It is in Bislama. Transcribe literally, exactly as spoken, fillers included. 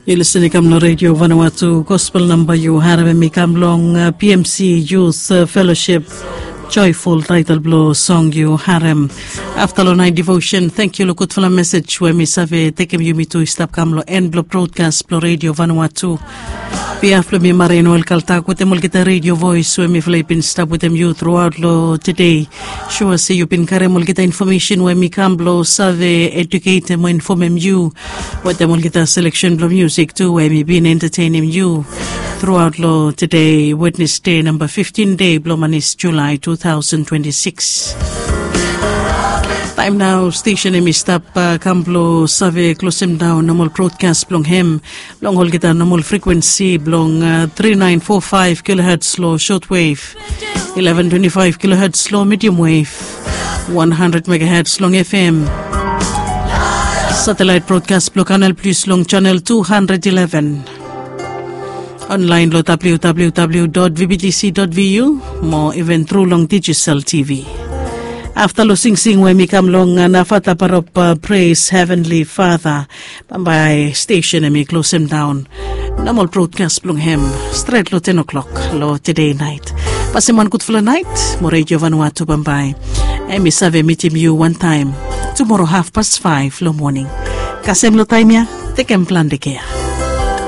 Yu lisin i kam long redio Vanuatu. Gospel namba yu harem em i kam long uh, P M C Youth uh, Fellowship. Joyful title blo song yu harem. Afta long night devotion, thank yu long gudfala message we mi save tekem yumi tu i stap kam long en blo broadcast blo redio Vanuatu. Biaf blo mi Marie Noel Kaltak wetem olgeta radio voice we mifala i bin stap wetem yu throughout long today. Sua se yu bin karem olgeta information we mi kam blo save educatem o infomem yu wetem olgeta selection blo music tu we mi bin entertainim yu throughout long today Wednesday namba fifteen day blo manis July two thousand twenty-six. Taim nau stesen em i stap uh, kam blo save klosem daun normal broadcast blong hem long olgeta normal frequency blong uh, three nine four five kilohertz long shortwave, eleven twenty-five kilohertz long medium wave, one hundred megahertz long F M. Satellite broadcast blong Canal Plus long channel two hundred eleven. Online long www.vbtc.vu mo even through long digital T V. Afta long singsing we mi kam long uh, Nafata Barop uh, Praise Heavenly Father, bambae stesen em i klosem daun normal broadcast blong hem stret long ten o'clock long today night. Pasim wan gudfala nait mo redio Vanuatu bambae em i save mitim yu wantaim tumoro haf pas five long moning. Kasem long taim ya, tekem plante kea.